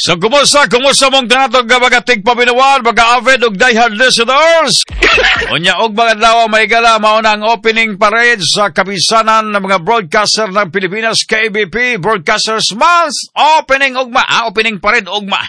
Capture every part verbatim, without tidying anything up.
So, kumusta? Kumusta mong tanatog nga mga tigpaminawan, mga avid ug diehard listeners? Unya og mga adlaw, mga higala, mao na ang opening parade sa kapisanan ng mga broadcaster ng Pilipinas, K B P Broadcasters Month. Opening ugma, ah, opening parade ugma.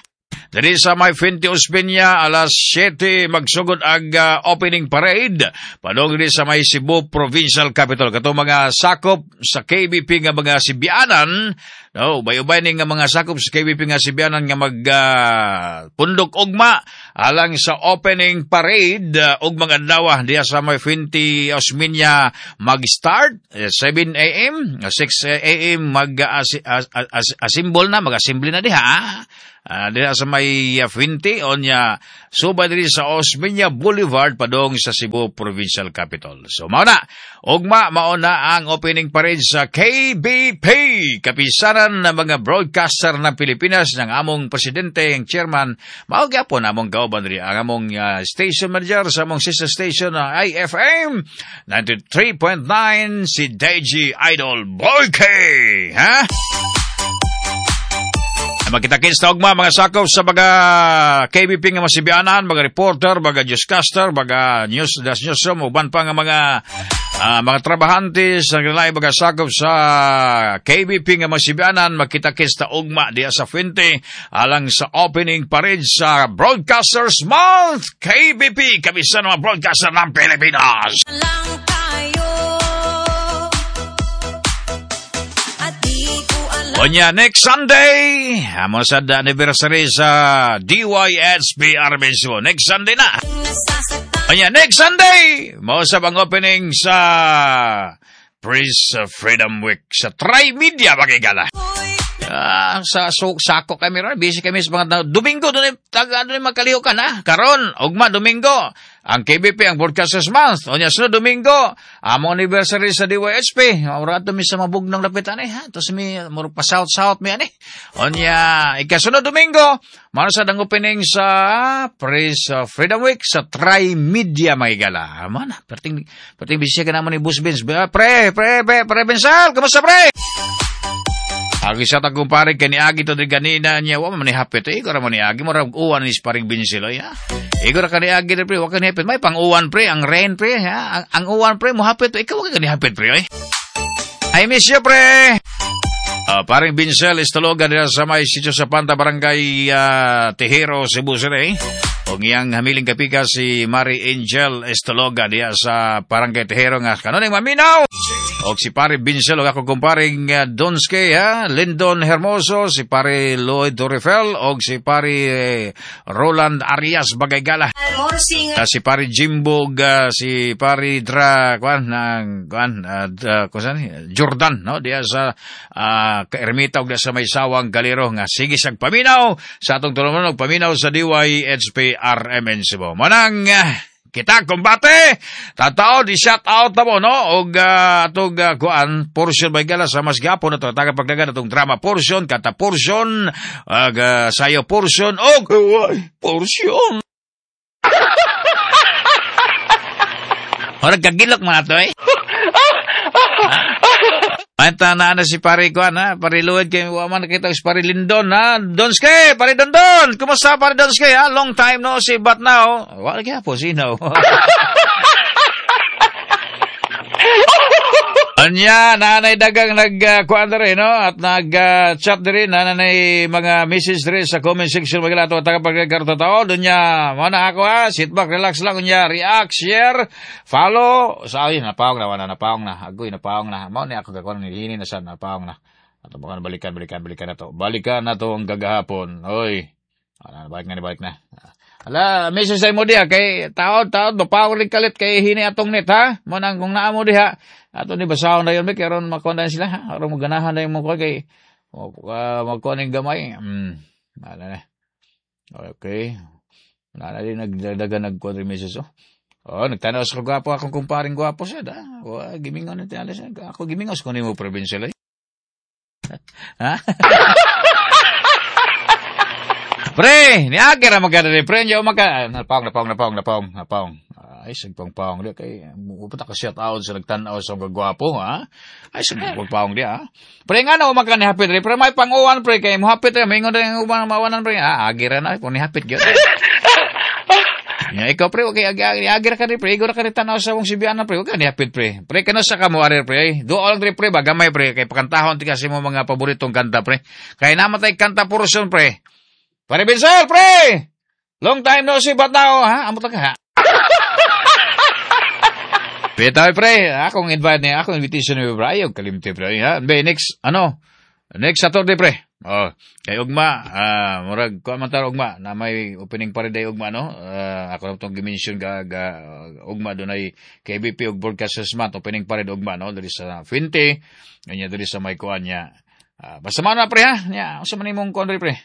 Diri sa may Fuente Osmeña, alas siyete magsugod ang ah, opening parade. Padung diri sa may Cebu Provincial Capital. Katong mga sakop sa K B P nga mga Sibianan, no, ubay-ubay ni nga mga sakop sa K B P nga Sibianan nga mag ah, pundok ugma alang sa opening parade uh, ug mga adlaw diya sa may Fuente Osmeña mag-start eh, seven A M, six A M mag uh, as, as, as, assemble na, mag-assembly na diha. Uh, diha sa may uh, Fuente, onya subay diri sa Osmeña Boulevard padong sa Cebu Provincial Capital. So mao na, ugma mao na ang opening parade sa K B P, kapisanan ng mga broadcaster ng Pilipinas, ng among presidente, ang chairman, mao gyapon among kauban diri, ang among uh, station manager sa among sister station na I F M ninety-three point nine, si D J Idol Boyke, ha? Magkita-kits ta ugma, mga sakop sa mga K B P nga masibianan, mga reporter, mga newscaster, mga news, das newsroom, uban pa nga mga ah, mga trabahante sa lain mga sakop sa K B P nga masibianan, magkita-kits ta ugma diya sa Fuente alang sa opening parade sa Broadcasters Month, K B P, kapisanan mga broadcaster ng Pilipinas. Lang tayo. At di ko alam. Onya, next Sunday, amo sa anniversary sa D Y H P R mismo. Next Sunday na. Nasasaktan. Onya, next Sunday, mao sab ang opening sa Press Freedom Week sa Trimedia, mga higala. Ah, sa so, sako kami ron, busy kami sa mga Domingo doon taga doon magkalihukan ha. Karon, ugma Domingo, ang K B P, ang Broadcasters Month. Unya sunod Domingo, among anniversary sa D Y H P. Mura ato mi sa Mabugnong lapitan eh ha. Tapos mi murag pa south south mi ani. Unya ikasunod Domingo, mao sa ang opening sa Press uh, Freedom Week sa Trimedia, mga higala. Mana, perting perting busy ka naman ni Boss Vince. Pre, pre, pre, pre Bensal, kumusta, pre? Agi sa tagong pare kay niagi to di ganina niya wa man ni hapit eh ikaw ra man niagi, murag uwan ni paring Binsil ya. Ikaw ra ka niagi pre, wa ka ni hapit, may pang uwan, pre, ang rain, pre, ha, ang, ang uwan, pre, mo hapit, ikaw wa ka ni hapit, pre, oy. I miss you, pre. Uh, paring Binsel Estologa dira sa may sitio sa Panta, Barangay uh, Tejero, Cebu City. Og iyang hamiling kapika si Mary Angel Estologa diya sa Barangay Tejero nga kanuning maminaw. Og si pare Binsel og ako kumparing uh, Donske ha, Lindon Hermoso, si pare Lloyd Torrefel og si pare eh, Roland Arias Bagaygala. More singer. Uh, si pare Jimbo og uh, si pare Dra kwan ng kwan uh, uh, kusan Jordan, no, diya sa uh, Ermita og diya sa may sawang Galero nga sige sag paminaw sa atong tulungan og paminaw sa D Y H P R M N Cebu. Manang uh, kita kumbate tatao di shout out na mo, no, og uh, atong uh, kuan portion may gala sa mas gapon ato taga pagdagan atong drama portion, kata portion ug uh, sayo portion og portion. Murag kagilok man ato eh. Anta na na si pare ko na, pare Luwed kay wa man nakita si pare Lindon ha. Donske, pare Dondon. Kumusta, pare Donske, ha? Long time no see, but now wala kaya po sino. Anya, nanay dagang nag uh, kuan diri, no, at nag uh, chat diri, nanay mga message diri sa comment section magila ato taga pagkakarto tao dunya mo na ako ha. Sit back, relax lang, unya react, share, follow sa ay napaong na, wala napaong na, agoy, napaong na mao ni ako kakuan ni hini na sa napaong na ato baka balikan, balikan, balikan na to, balikan na to ang gagahapon, oy. Ala, balik na, balik na. Ala, message ay mo diha kay taod taod mapaong rin kalit kay hini atong net ha. Mo nang kung naa mo diha ato ni basahon na yun may karon makuha na sila ha. Aron mo ganahan na yung mo kay uh, magkuha ning gamay. Mm. Ala na. Okay. Wala na din nagdadagan nagkuha rin message oh. Oh, nagtanaw sa gwapo akong kumparing gwapo siya da. Wa gimingon na tinala siya. Ako gimingon sa kunin mo provincial eh. Ha? Pre, ni Agi ra magkada pre, nyo maka napaong, napaong, napaong, napaong, napaong. Ay, sagpang paong di kay upat ka shout out sa nagtan-aw sa gwapo, ha? Ay, sagpang paong di, ha? Pre, nga na man ka ni hapit pre, may panguwan pre kay mo hapit pre, maingon rin ang uban mawanan pre. Ah, agira na kung ni hapit gyud. Ya, ikaw pre, okay, agi agi agi ra ka rin pre, igo ra ka rin tanaw sa mong sibianan pre, okay ni hapit pre. Pre, kano sa kamo ari pre, ay, duol lang pre pre, ba gamay pre, kay pakantahon ti kasi mo mga paboritong kanta pre. Kay namatay kanta portion pre. Pare Binsel, pre! Long time no see, but now, ha? Amot lang ka, ha? Bitaw, pre, akong invite niya, akong invitation ni pre, ayaw kalimti, pre, ha? Be, next, ano, next Saturday, pre. Oh, kay ugma, ah, murag kuan man ta ugma na may opening pa rin day ugma no. Ah, ako na tong gi-mention ga, ga ugma dunay K B P ug Broadcasters Month opening pa rin ugma no diri sa Fuente, nya diri sa may kuan niya. Ah, basta man na pre ha. Nya, unsa man imong kuan diri pre?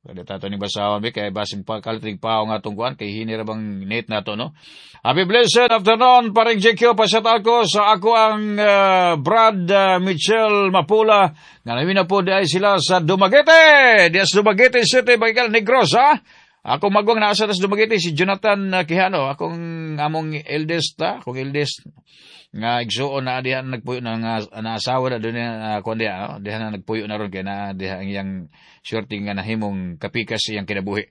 Pwede tato ni basahon bi kay basing pa kalitig pa nga atong kuan kay hini ra bang net nato no. Happy blessed afternoon, paring J Q, pa-shout ko sa ako ang uh, Brad uh, Michelle Mapula nga namin na po di ay sila sa Dumaguete. Diya sa Dumaguete City, Baikal Negros ha. Ako magwang nasa sa Dumaguete si Jonathan uh, Quijano, akong among eldest ha, akong eldest nga igsuon na diha nagpuyo na nga naasawa na doon na uh, kuan diha, oh, diha na nagpuyo na ron kay na diha ang iyang swerte nga nahimong kapikas iyang kinabuhi.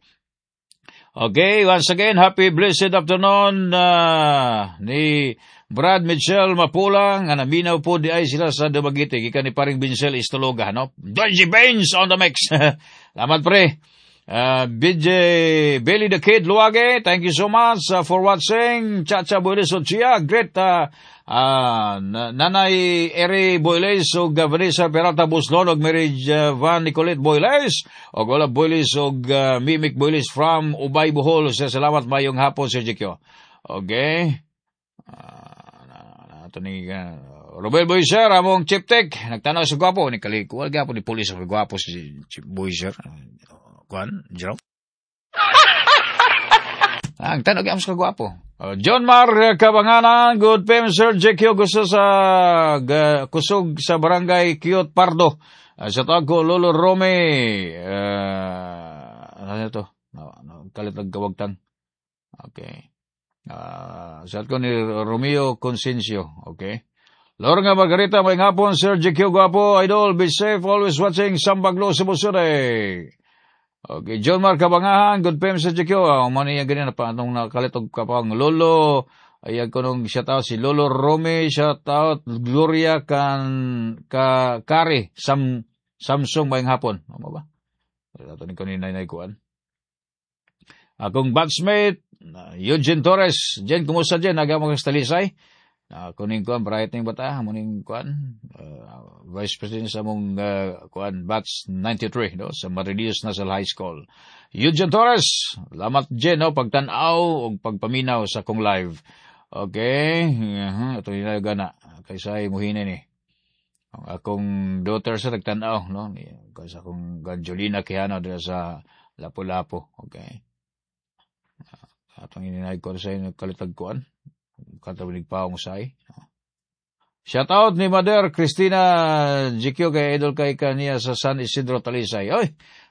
Okay, once again, happy blessed afternoon uh, ni Brad Mitchell Mapula nga naminaw po di ay sila sa Dumaguete gikan ni paring Vincel Istologa no. Donji Baines on the mix. Salamat pre. Uh, B J Billy the Kid Luage, thank you so much uh, for watching. Chacha Boyles Ochia, great uh, uh, Nanay Eri Boyles ug uh, Vanessa Peralta Buslon ug Mary uh, Van Nicolette Boyles ug Ola Boyles ug uh, Mimic Boyles from Ubay, Bohol. Salamat, mayong hapon, Sir J Q. Okay. Uh, ato ni uh, Robel Boyser, among Chief Tech, nagtanaw sa gwapo ni Kaliko. Wala gwapo ni pulis sa gwapo si Chief Boyser. Kuan, Jerome? Ah, ang tanong gyud sa gwapo. Uh, John Mar Kabanganan, good P M Sir J Q, gusto sa ga, kusog sa Barangay Cute Pardo. Uh, sa tawag ko, Lolo Rome, uh, ano ito? No, no, kalit kawagtang. Okay. Uh, sa ko ni Romeo Consencio. Okay. Lorna Margarita, may hapon, Sir J Q Gwapo, Idol, be safe, always watching Sambaglo, Cebu City. Okay, John Mark Kabangahan, good P M Sir J Q. Uh, mo niya ganyan na pa anong nakalitog ka pang Lolo, ayan ko nung shout out si Lolo Rome, shout out Gloria kan ka Kari Sam Samsung mayong hapon. Ano ba? Ato ni ko ni Nay Kuan. Akong batchmate, uh, Eugene Torres. Jen, kumusta Jen? Naga mo sa Talisay? Uh, kuning kuan, bright ning bata, muning kuan, uh, Vice President sa mong uh, kuan, batch ninety-three, no, sa Maridios National High School. Eugene Torres, lamat Jen, no, pagtanaw o pagpaminaw sa kong live. Okay, uh-huh, ito yung gana, kaysa muhina ni. Ang akong daughter sa nagtanaw, no, kaysa akong Jolina Quijano dira sa Lapu-Lapu. Okay. Uh, atong ininay ko sa inyo kalitag kuan. Katabinig pa akong say. Shout out ni Mother Christina G Q kay idol kay kaniya sa San Isidro Talisay. Oy,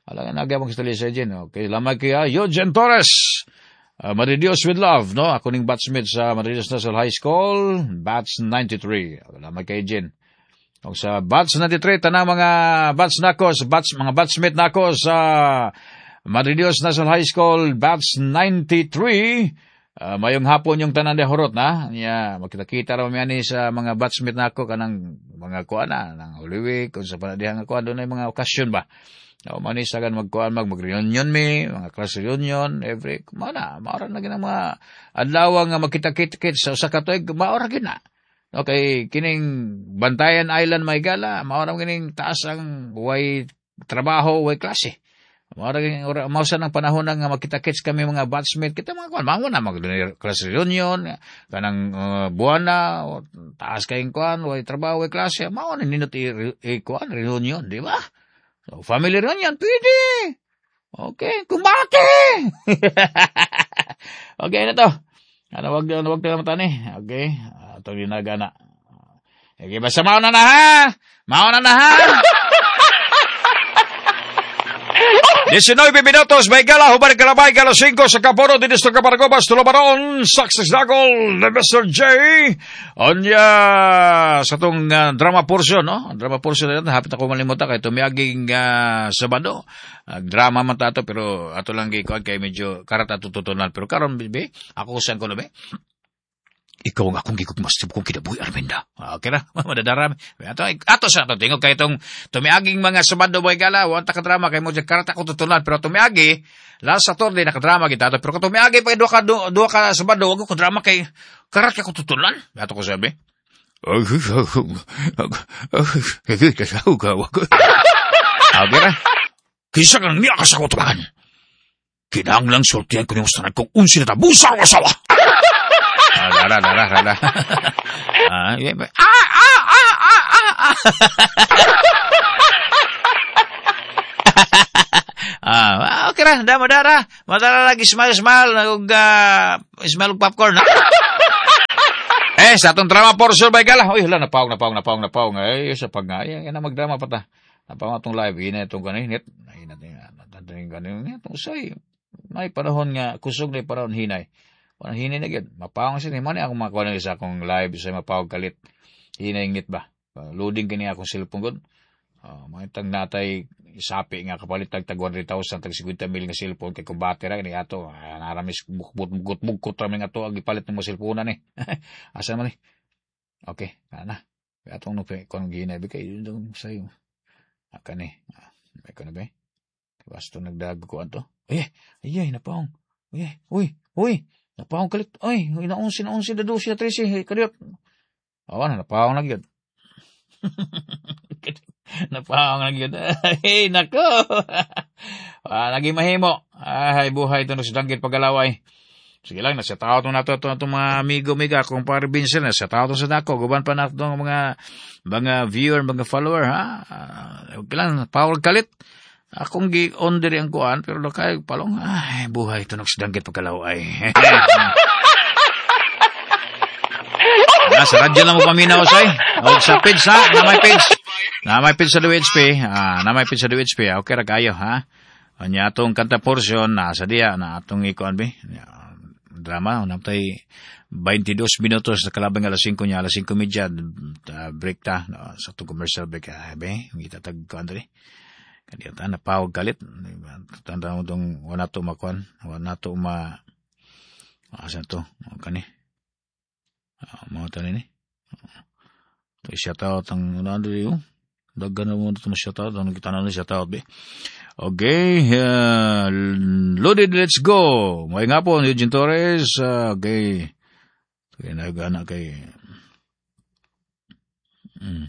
alam nga nagyamang sa Talisay din. Okay, lamay kaya Eugene Torres. Uh, Maridios with love, no? Ako ning batchmate sa Maridios National High School, batch ninety-three. Lamay kay Jen. Og sa batch ninety-three, tanang mga batch nako, sa batch, mga batchmate nako sa Maridios National High School, batch ninety-three, Uh, mayong hapon yung tanan de horot na. Nya makita-kita ra mi sa mga batchmate nako kanang mga kuan na nang Holy Week kung sa panadihan nga kuan dunay mga okasyon ba. O man sagan magkuan mag mag-reunion mi, mga class reunion every mana, maora na gyud mga adlaw nga magkita-kita sa usa ka tuig, maora gyud na. Okay, kining Bantayan Island may gala, maora kining taas ang way trabaho, way klase. Mao ora mao sa nang panahon nga magkita-kits kami mga batchmate kita mga kuan mango na mag class reunion kanang uh, buwana o, taas kayong kuan way trabaho way klase mao na nindot i, i kuan reunion, di ba? So family reunion pwede. Okay, kumbate. Okay na to. Ano wag ano wag tayo matani. Okay, ato ginagana. Okay, basta mao na na ha. Mao na na ha. nineteen minutos, may gala, human kalabay, alas singko sa Kapono, dito sa Kaparagobas, Tulumanon, Success Dagol, the Mister J. Onya, sa itong uh, drama portion, no? Drama portion na hapit ako malimutan kay tumiaging uh, Sabado. Uh, drama man tato, pero ato lang gikuan kay medyo karat ato tutunan. Pero karon be, ako saan ko na be? Ikaw ang akong gigugmas sa kong kinabuhi, Arminda. Okay na, madadarami. Ato, ato sa ato, tingog kay itong tumiaging mga Sabado boy gala, wala ka drama, kay mo dyan karat ako tutunan. Pero tumiagi, last Saturday, nakadrama kita. Pero kung tumiagi pa, duha ka, duha ka Sabado, wag ko drama kay karat ako tutunan. Ato ko sabi. Okay na. Kisa kang niya ka sa kutuban. Kinahanglang sultihan ko niyong sanad kung unsi na tabusa ang asawa. Ah, dara, dara, dara. Ah, ah, ah, ah, ah, ah. Ah, okay ra, dama dara. Madara lagi smile smile ug uh, smile ug popcorn. Eh, sa atong drama portion bay gala. Uy, hala, napawag, napawag, napawag, napawag. Ay, sa pag ay, na magdrama pa ta. Napawag atong live ina itong kaninit. Ay, natin natin kaninit. Usay. May panahon nga kusog na panahon hinay. Parang hinay na gyud. Mapawang siya ni man akong makuha na sa akong live sa mapawag kalit. Hinay ngit ba? Loading kini akong cellphone gud. Uh, Mangitang natay isapi nga kapalit tag tag one hundred thousand tag fifty mil nga cellphone kay kung battery kini ato. Uh, naramis bukbut bukot bukot rami nga ato ang gipalit ng mga cellphone ni. Asa man ni? Okay, kana. Atong no kon ginay bi kay dong sayo. Aka ni. May kono ba? Basto nagdag ko anto. Ay, ay, ay napawang. Ay, uy, uy. Napawang kalit. Ay, naunsi, naunsi, dadusi, na tresi. Kadiyot. Awan, napawang na gyud. Napawang na gyud. Ay, nako. Ah, naging mahimo. Ay, buhay ito sa danggit paggalaway. Sige lang, nasa tao ito nato ito itong mga amigo, amiga, kung pare Vincent, nasa tao ito sa dako. Guban pa nato ang mga, mga viewer, mga follower, ha? Uh, okay lang, power kalit. Akong gi-on diri ang kuan, pero lakay palong, ay, buhay ito nagsidanggit pagkalaway. Ah, sa radyo lang mo paminaw, say. O, sa page, ha? Na may page. Na may page sa D W H P. Ah, na may page sa D W H P. Okay, ra kayo, ha? Anya atong kanta portion, nasa diya, na atong ikuan, be. Drama, unang tay twenty-two minutos sa kalabang alas singko niya, alas singko trenta, break ta, no, sa itong commercial break, ah, be, itatag kuan diri. Kaya napawag kalit. Tanda mo itong wala to makuan. Wala to ma... Asa to? Kani. Mga tanin eh. Ito shout out ang ano yun. Daggan na mo ito shout out. Ano kita na shout out be. Okay. Uh, loaded, let's go. May nga po, Eugene Torres. Uh, okay. Kaya nagana kay... Hmm.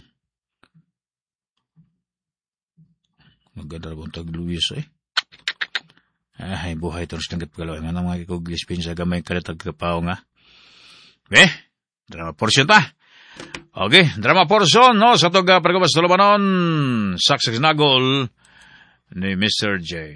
Maganda bang tag Luis eh. Ay, buhay ito sa tanggit pagalaw. Nga mga kikog-lispin sa gamay kalit agkapaw nga. Eh, drama portion ta. Okay, drama portion, no? Sa toga, pagkabas tulubanon, Success Nagol ni Mister J.